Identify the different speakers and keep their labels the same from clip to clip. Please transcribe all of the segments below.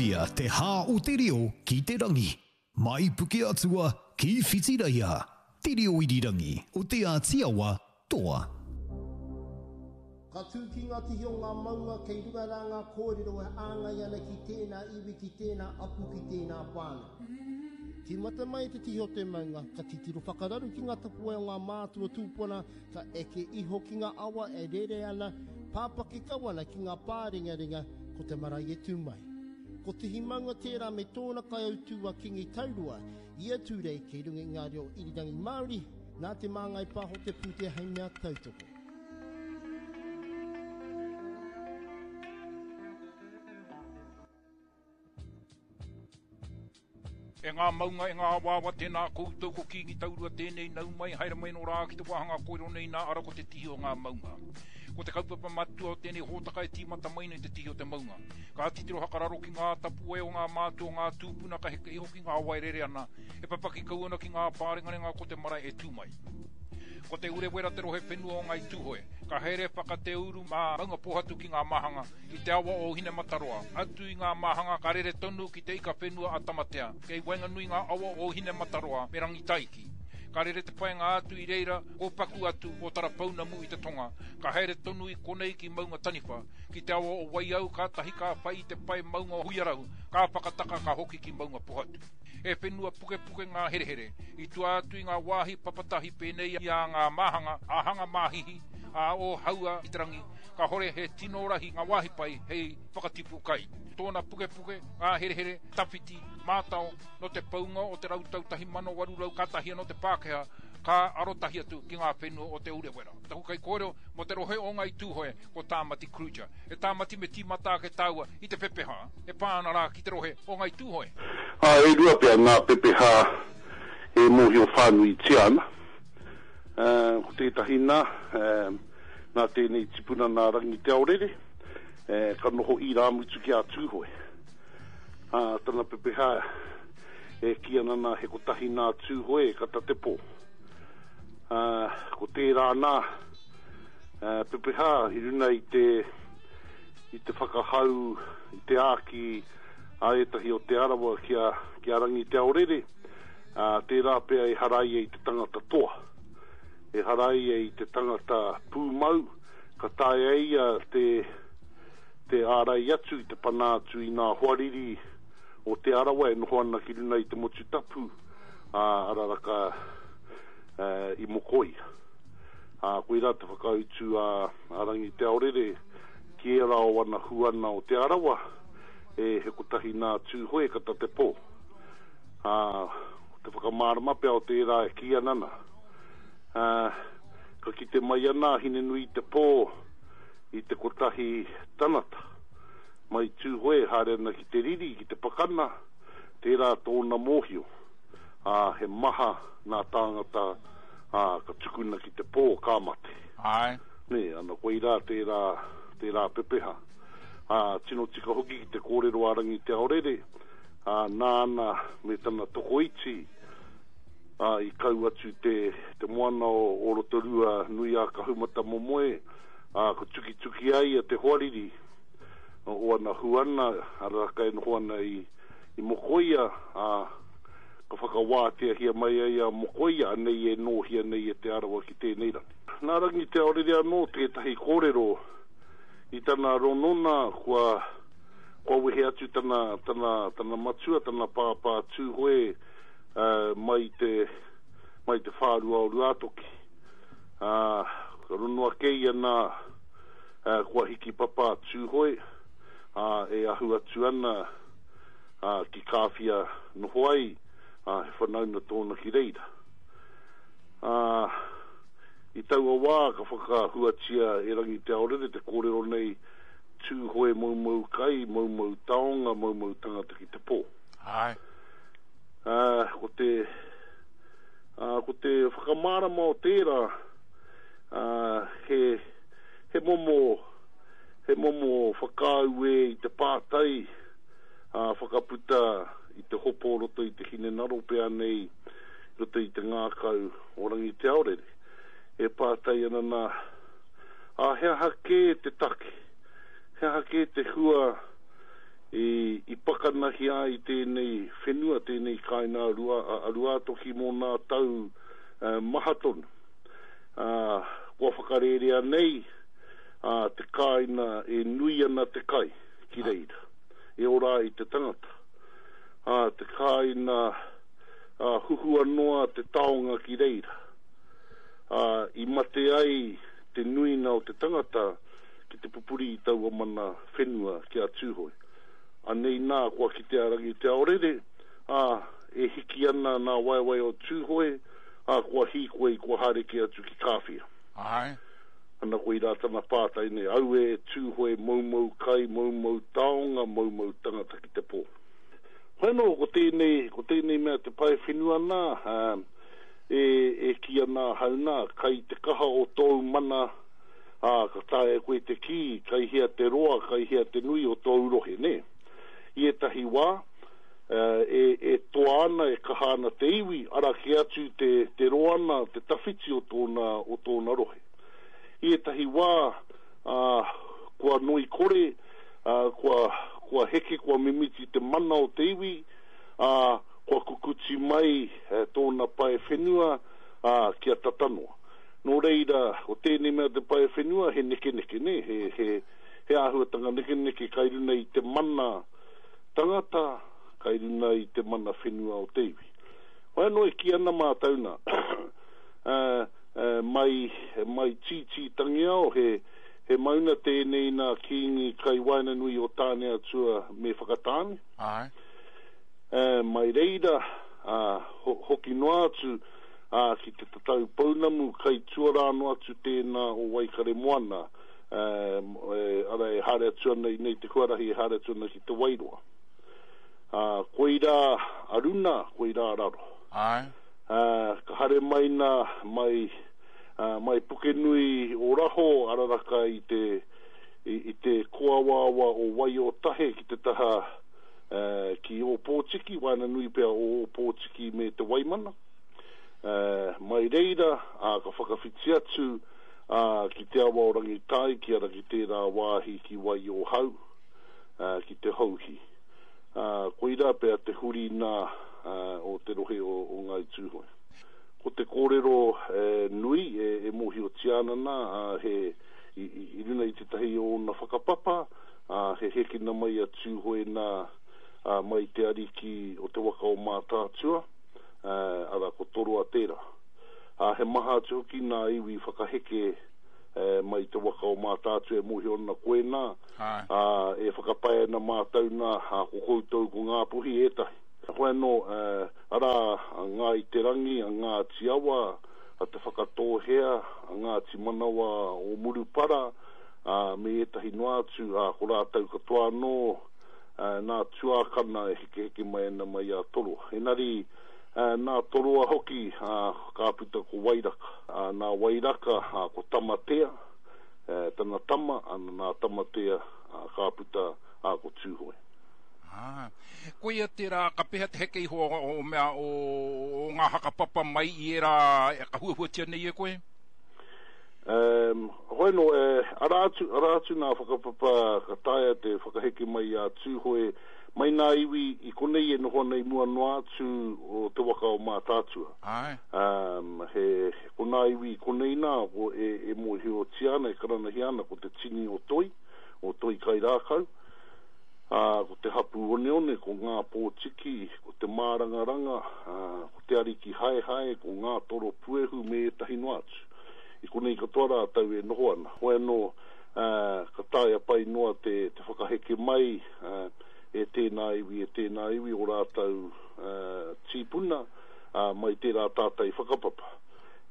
Speaker 1: Mauria te hā o te reo ki te rangi. Mai Pukeatua ki Whitireia, te reo irirangi o Te Āti Awa, toa.
Speaker 2: Ka tū ki ngā tihi o ngā maunga kei runga rā ngā kōrero e āngai ana ki tēnā iwi, ki tēnā apu, ki tēnā whānau. Tīmata mai i te tihi o te maunga, ka titiro whakararu ki ngā tapuwae o ngā mātua tūpuna, ka eke iho ki ngā awa e rere ana, pāpaki kau ana ki ngā pārengarenga, ko te marae e tū mai. Ko Tihi Maunga tērā me tōna kaiautū a Kingi Taurua, i a Tūrei kei runga i ngā reo irirangi Māori, nā Te Māngai Pāho te pūtea hei mea tautoko.
Speaker 3: E ngā maunga, e ngā awaawa, tēnā koutou, ko Kīngi Taurua tēnei, nau mai, haere mai nō rā ki te wāhanga kōrero nei nā, ara ko te tihi o ngā maunga. Ko te kaupapa matua o tēnei hōtaka e tīmata mai nei te tihi o te maunga. Ka titiro hakararo ki ngā tapuwae o ngā mātua o ngā tūpuna ka heke iho ki ngā awa e rere ana, e papaki kau ana ki ngā pārengarenga ko te marae e tū mai. Ko Te Urewera te rohe whenua o Ngāi Tūhoe. Ka haere whakateuru mā Maungapōhatu ki ngā māhanga, i te awa o Hinemataroa, atu i ngā māhanga ka rere tonu ki te ika whenua a Tamatea, kei waenganui ngā awa o Hinemataroa me Rangitaiki. Ka rere te paenga atu i reira, kōpaku atu o Tarapounamu i te tonga, ka haere tonu i konei ki Maunga Taniwha, ki te awa o Waiau kātahi ka whai i te pae maunga o Huiarau, ka whakataka ka hoki ki Maunga Pohatu. He whenua pukepuke ngā herehere, i tua atu i ngā wāhi papatahi pēnei i a ngā māhanga, a Hanga Māhihi, a Ōhaua i te rangi, Kahore he tino rahi ngā wāhi pai hei whakatipu kai. Tōna pukepuke, ngā herehere, tawhiti, mātao, nō te paunga o te rautau 1800 kātahi anō te Pākehā ka arotahi atu ki ngā whenua o Te Urewera. Taku kaikōrero mō te rohe o Ngāi Tūhoe ko Tāmati Kruger. E Tāmati me tīmata ake tāua i te pepeha e pā ana rā ki te rohe o Ngāi Tūhoe.
Speaker 4: Ā, e rua pea ngā pepeha e mōhio whānuitia ana. Ko tētahi nā, Nā tēnei tipuna nā Rangi Te Aorere, ka noho irāmutu ki a Tūhoe. Ā, tana pepeha e kī ana nā he kotahi nā Tūhoe e kata te pō. Ā, ko tērā nā pepeha i runa i te, i te whakahau, i te āki a ētahi o Te Arawa ki a, ki a Rangi Te Aorere, ā, tērā pea ehara ia i te tangata toa. Ehara ia i te tangata pūmau, ka taea e ia te te ārai atu, te pana atu i ngā hoariri o Te Arawa e noho ana ki runa i te motu tapu, ā, araraka i Mokoia. Ā, koirā te whakautu a a Rangi Te Aorere ki ērā o ana huana o Te Arawa, e, he kotahi nā Tūhoe ka ta te pō. Ā, ko te whakamārama pea o tērā e kī ana nā, Ā, ka kite mai ana a Hinenui-te-pō i te kotahi tanata, mai Tūhoe e haere ana ki te riri, ki te pakana, tērā tōna mōhio, ā, he maha nā tāngata, ā, ka tukuna ki te pō, ka mate.
Speaker 3: Āe.
Speaker 4: Nē, ana koirā tērā, tērā pepeha. Ā, tino tika hoki ki te kōrero a Rangi Te Aorere, ā, nāna me tana tokoiti, ā, i kau atu te, te moana o, o Rotorua nui a Kahumatamomoe, ā, ka tukituki a ia te hoariri o ana huana, arā, ka e noho ana i, i Mokoia, ā, ka whakawāteahia mai ai a Mokoia, anei e nōhia nei e Te Arawa ki tēnei rangi. Nā Rangi Te Aorere anō tētahi kōrero i tana ronona kua, kua wehe atu tana, tana, tana matua, tana pāpā Tūhoe, mai te, mai te whārua o Ruātoki. Ā, ka rono ake ia nā, kua hiki papa a Tūhoe, ā, e ahu atu ana, ā, ki Kāwhia noho ai, ā, he whanauna tōna ki reira. Ā, i taua wā ka whakahuatia e Rangi Te Aorere te kōrero nei, Tūhoe moumou kai, moumou taonga, moumou tangata ki te pō.
Speaker 3: Āe.
Speaker 4: Ā, ko te, ā, ko te whakamārama o tērā, ā, he, he momo, he momo whakaaue i te pātai, ā, whakaputa i te hopo o roto i te hinengaro pea nei, i roto i te ngākau o Rangiteaorere, e pātai ana nā, ā, he aha kē te take, he aha kē te hua i, i pakari. karanahia ai tēnei whenua, tēnei kāinga a Ruātoki mō nā tau maha tonu. Kua whakarērea nei te kāinga e nui ana te kai ki reira, e ora ai te tangata. Te kāinga huhua noa te taonga ki reira. I mate ai te nuinga o te tangata ki te pupuri i taua mana whenua ki a Tūhoe. Anei nā kua kite a Rangiteaorere, ā, e hiki ana nā waewae o Tūhoe, ā, kua hīkoi, kua haere kē atu ki Kāwhia.
Speaker 3: Āe.
Speaker 4: Ana koirā tana pātai nei, Aue e Tūhoe, moumou kai, moumou taonga, moumou tangata ki te pō. Hoi anō, ko tēnei, ko tēnei mea te pae whenua nā, ā, e, e kī ana ahau nā, kai te kaha o tōu mana, ā, ka taea e koe te kī, kai hea te roa, kai hea te nui o tōu rohe, nē? I ētahi wā, e, e toa ana, e kaha ana te iwi, ara kē atu te, te roa ana, te tawhiti o tōna, o tōna rohe. I ētahi wā, ā, kua ngoikore, ā, kua, kua heke, kua mimiti te mana o te iwi, ā, kua kukuti mai tōna pae whenua, ā, kia tata noa. Nō reira, ko tēnei mea te pae whenua he nekeneke, nē, he, he, he āhuatanga nekeneke kai runa i te mana tangata, kai runa i te mana whenua o te iwi. Whai anō e kī ana mātou nā, ā, ā, mai, mai Tītī Tangiao, he, he mauna tēnei nā Kīngi kai waenganui o Tāneatua me Whakatāne.
Speaker 3: Āe.
Speaker 4: Ā, mai reira, ā, ho, hoki noa atu, ā, ki te tatau pounamu kai tuarā noa atu tēnā o Waikaremoana, ā, e, ara e haere atu ana i nei te huarahi e haere atu ana ki Te Wairoa. Ā, koirā a runa, koirā a raro.
Speaker 3: Āe.
Speaker 4: Ā, ka haere mai nā, mai, ā, mai Pukenui o raho, araraka i te, i, i te kōawaawa o Waiotahe ki te taha, ā, ki Ōpōtiki, waenganui pea o Ōpōtiki me Te Waimana. Mai reira, ā, ka whakawhiti atu, ā, ki te awa o Rangitaiki, ara ki tērā wāhi ki Waiōhau, ā, ki Te Houhi. Ā, koirā pea te huri nā, ā, o te rohe o, o Ngāi Tūhoe. Ko te kōrero, e, nui e, e mōhiotia ana nā, ā, he, i, i, i runa i tētahi o ōna whakapapa, ā, he hekina mai a Tūhoe nā, ā, mai te ariki o te waka o Mātaatua, ā, arā, ko Toroa tērā. Ā, he maha atu hoki nā iwi whakaheke mai te waka o Mātaatua e mōhio ana koinā, ā, e whakapae ana mātou nā, ā, ko koutou ko Ngāpuhi ētahi. Hoi anō, arā, a Ngāi Te Rangi, a Ngāti Awa, a Te Whakatōhea, a Ngāti Manawa o Murupara, ā, me ētahi noa atu, ā, ko rātou katoa anō, nā tuākana e hekeheke mai ana mai i a Toroa. Engari, nā Toroa hoki, ka puta ko Wairaka. Nā Wairaka, ko Tamatea, tana tama, ana nā Tamatea, ka puta, ko Tūhoe.
Speaker 3: Ā, koia tērā, ka pēhea te heke iho o mea, o ngā hakapapa mai i ērā ka huahuatia nei e koe?
Speaker 4: Um, hoi no, e, ara atu, ara atu nā whakapapa ka taea te whakaheke mai i a Tūhoe, mai nā iwi i konei e noho ana i mua noa atu o te waka o Mātaatua.
Speaker 3: Āe.
Speaker 4: Um, he, ko nā iwi i konei nā, ko e, e mōhiotia ana, e karanahia ana, ko te tini o Toi, o Toi Kairākau, ā, ko te hapū oneone, ko Ngā Pōtiki, ko Te Mārangaranga, ā, ko Te Ariki Haehae, ko Ngā Toro Puehu me ētahi noa atu. I konei katoa rātou e noho ana. Hoi anō, ā, ka taea pai noa te, te whakaheke mai, ā, e tēnā iwi, e tēnā iwi o rātou, ā, tīpuna, ā, mai tērā tātai whakapapa.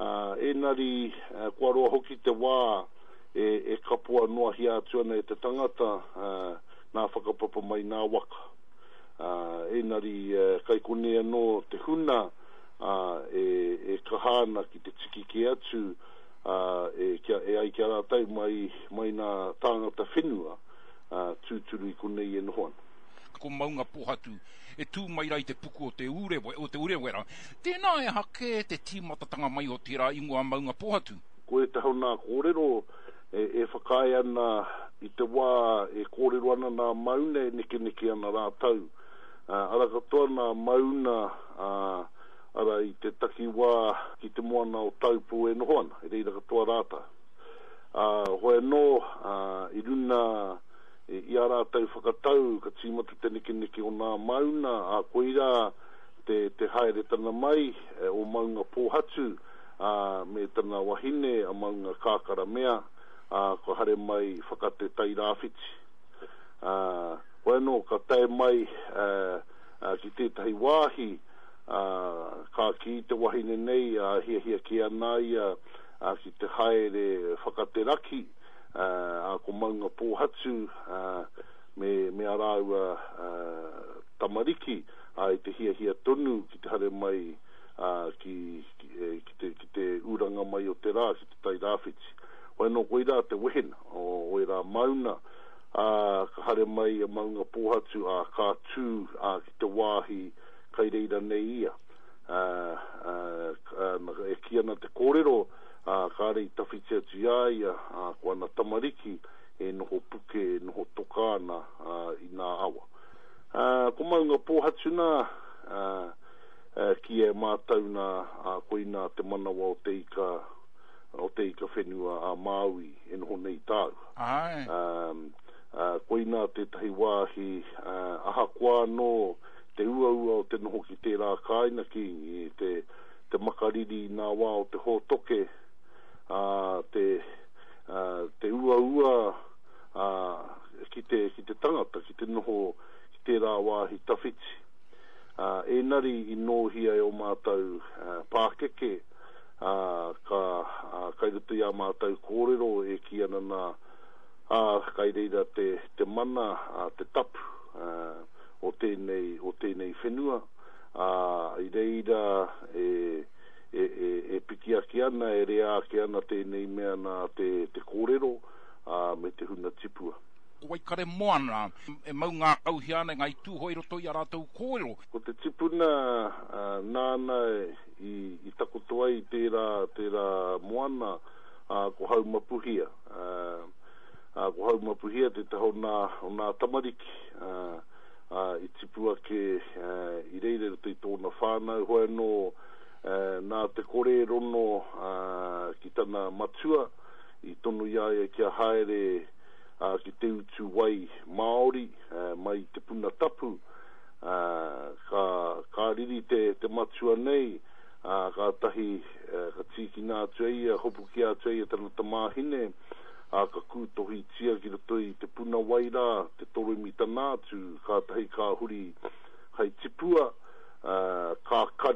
Speaker 4: Ā, ēnari, ā, kua roa hoki te wā e, e kapoa noahia atu ana e te tangata, ā, nā whakapapa mai nā waka. Ā, ēnari, ā, kai konei anō te huna, ā, e, e kaha ana ki te tiki kē atu, ā, e, kia, e ai ki a rātou mai, mai nā tāngata whenua, ā, tūturu i konei e noho ana.
Speaker 3: Ko Maungapōhatu e tū mai rā i te puku o te Urewe, o te Urewera. Tēnā e aha kē te tīmatatanga mai o tērā ingoa Maungapōhatu?
Speaker 4: Ko ētahi o nā kōrero e, e whakaae ana i te wā e kōrero ana nā mauna e nekeneke ana rātou. Ara katoa nā mauna, ara i te takiwā ki te moana o Taupō e noho ana, i reira katoa rātou. Ā, hoi anō, i runa i ā rātou whakatau ka tīmata te nekeneke o nā mauna, ā, koirā te, te haeretana mai o Maunga Pōhatu, ā, me tana wahine a Maunga Kākaramea, ā, kua haere mai whaka te Tairāwhiti. Ā, hoi anō ka tae mai ki tētahi wāhi, ā, ka kī te wahine nei, ā, hiahia kē ana ia ki te haere whaka te raki, ā, ko Maunga Pōhatu, ā, me, me ā rāua tamariki, ā, i te hiahia tonu ki te haere mai, ā, ki, ki, ki te, ki te uranga mai o te rā, ki te Tairāwhiti. Hoi anō koirā te wehena o ērā mauna, ā, ka haere mai a Maunga Pōhatu, ā, ka tū, ā, ki te wāhi kai reira nei ia. Ā, ā, ā, e kī ana te kōrero, ā, kāre i tawhiti atu i a ia, ā, ko ana tamariki e noho puke, e noho toka ana, ā, i nā awa. Ā, ko Maunga Pōhatu nā, ā, ā, kīia e mātou nā, ā, koinā te manawa o te ika, o te ika whenua a Māui e noho nei tāua.
Speaker 3: Āe.
Speaker 4: Ā, ā, koinā tētahi wāhi, ā, ahakoa anō te uaua o te noho ki tērā kāinga Kīngi, te, te makariri i nā wā o te hōtoke, ā, te, ā, te uaua, ā, ki te, ki te tangata, ki te noho ki tērā wāhi tawhiti. Ā, ēnari i nōhia e ō mātou, ā, pākeke, ā, ka, ā, kai roto i ā mātou kōrero e kī ana nā, ā, kai reira te, te mana, ā, te tapu, ā, o tēnei, o tēnei whenua, ā, i reira e, e, e, e piki ake ana, e rea ake ana tēnei mea nā te, te kōrero, ā, me te huna tipua.
Speaker 3: Ko Waikaremoana e mau ngākauhia ana e Ngāi Tūhoe i roto i ā rātou kōrero.
Speaker 4: Ko te tipuna, ā, nāna i, i takoto ai tērā, tērā moana, ā, ko Haumapuhia. Ā, ā, ko Haumapuhia tētahi o nā, o nā tamariki, ā, ā, i tipu ake, ā, i reira i roto i tōna whānau. Hoi anō, ā, nā te kore rono, ā, ki tana matua, i tono i a ia kia haere, ā, ki te utu wai Māori, ā, mai i te puna tapu, ā, ka, ka riri te, te matua nei, ā, kātahi, ā, ka tīkina atu e ia, hopukia atu e ia tana tamāhine, ā, ka kūtohitia ki roto i te puna wai rā, te toroimitana atu, kātahi ka huri,